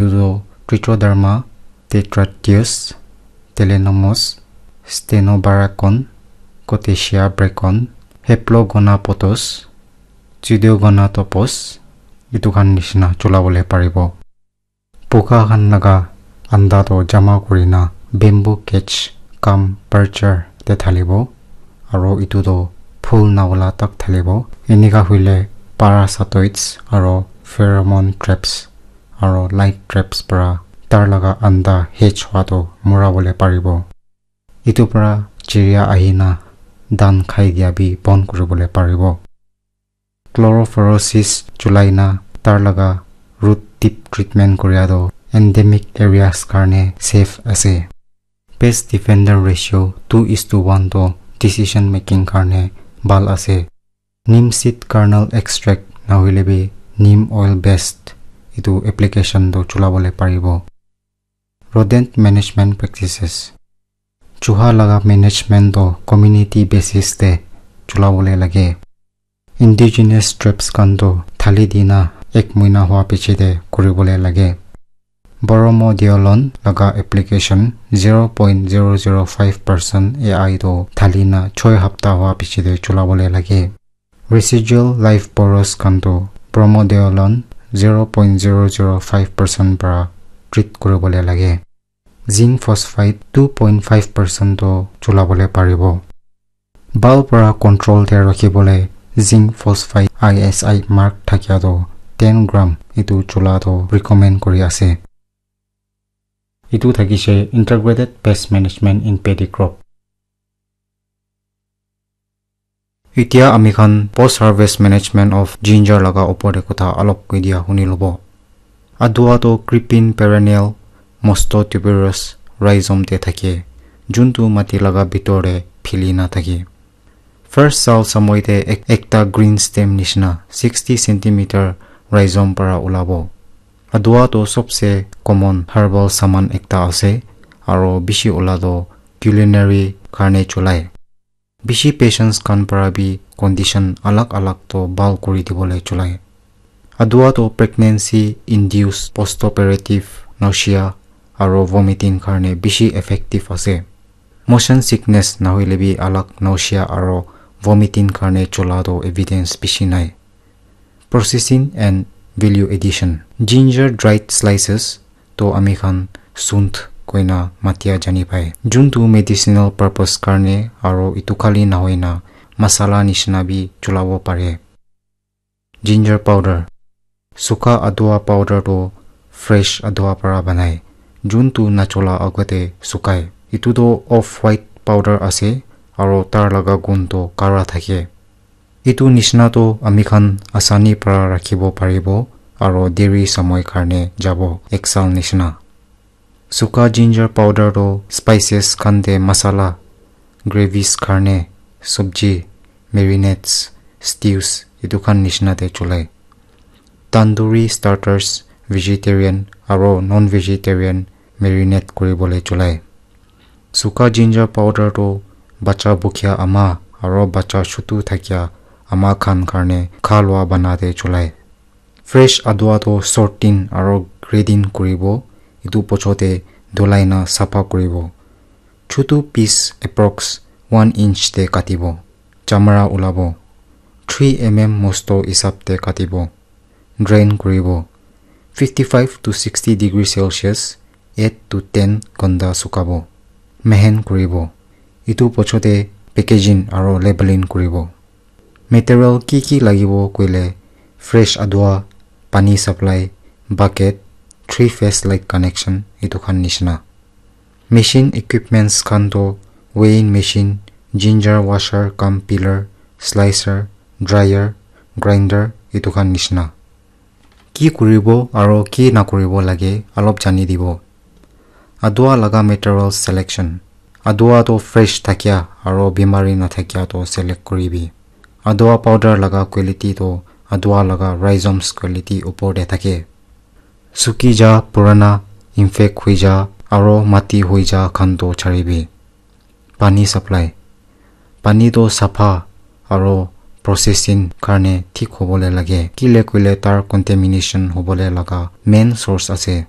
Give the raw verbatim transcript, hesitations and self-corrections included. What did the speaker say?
Etu toh Trichoderma, Tetratyos, Telenomus, Stenobaracon, Coccinea brachion, Heplogonapodos, Pseudogonadopus, etu khan nishina chula bole paribo. Puka khan laga anda toh jama kurina bamboo cage cum percher te thalibo, aro etu toh phul nawala tak thalibo. Enika hoile parasitoids aro pheromone traps aro light traps para tar laga anda hatch hua toh mura bole paribo. Etu para chiria ahina dhan khai dia bi bon kuri bole paribo. Chlorophoresis chulai na tar laga root tip treatment kuria toh endemic areas karne safe ase. Pest defender ratio two is to one toh decision making karne bhal ase. Neem seed kernel extract nahoile bi neem oil based etu application toh chula bole paribo. Rodent management practices. Chuha laga management toh community basis te chula bole lage. Indigenous traps khan toh thali dina ek muina hua piche te kuri bole lage. Bromodiolon laga application zero point zero zero five percent A I toh thali na choi hapta hua piche te chula bole lage. Residual live borers khan toh Bromodiolon zero point zero zero five percent para treat kuri bole lage. Zinc phosphide two point five percent toh chula bole paribo. Bhal para control te rakhi bole zinc phosphide I S I mark thakia toh ten gram etu chula toh recommend kuri ase. Etu thakise integrated pest management in paddy crop. Etia ami khan post harvest management of ginger laga opor te kotha alop koi dia huni lobo. Adua toh creeping perennial monotuberous rhizome te thake, juntu mati laga bitor te phili na thake. First sal samoi te ek-, ekta green stem nishina sixty centimeter rhizome para ulabo. Adua toh sobse common herbal saman ekta ase, aro bishi ula toh culinary karne chulai. Bishi patients khan para bi condition alag alag toh bhal kuri dibole chulai. Adua toh pregnancy induced postoperative nausea aro vomiting karne bishi effective ase. Motion sickness nahoile bi alag nausea aro vomiting karne chula toh evidence bishi nai. Processing and value addition. Ginger dried slices toh ami khan sunth koina matia jani pai. Juntu medicinal purpose karne aro etu khali nahoina masala nishina bi chulabo pare. Ginger powder. Suka adua powder toh fresh adua para banai, juntu nachula agate sukai. Etu toh off white powder ase aro tar laga gun toh kara thake. Etu nishina toh ami khan asani para rakhibo paribo aro deri samoi karne jabo ek sal nishina. Suka ginger powder toh spices khan te masala, gravies karne, sabji, marinades, stews etu khan nishina te chulai. Tandoori starters, vegetarian aro non-vegetarian marinate kuri bole chulai. Suka ginger powder toh bacha bukya ama aro bacha chutu thakya ama khan karne kha lua bana te chulai. Fresh adua toh sorting aro grading kuribo, etu pocho te dhulai na sapha kuribo. Chutu piece approx one inch te katibo. Chamara ulabo. Three M M mosto hisab te katibo. Drain kuribo. Fifty-five to sixty degree Celsius, eight to ten ghonta sukabo. Mehen kuribo. Etu pocho te packaging aro labeling kuribo. Material ki ki lagibo koile fresh adua, pani supply, bucket, three phase light connection etu khan nishina. Machine equipments khan toh weighing machine, ginger washer cum peeler, slicer, dryer, grinder etu khan nishina. Ki kuribo aro ki nakuribo lage alop jani dibo. Adua laga material selection. Adua toh fresh thakia aro bimari nathakia toh select kuribi. Adua powder laga quality toh adua laga rhizomes quality upor te thake. Suki ja, purana, infect hui ja aro mati hui ja khan toh charibi. Pani supply. Pani toh sapha aro processing karne thik hobole lage. Kile koile tar contamination hobole laga main source ase.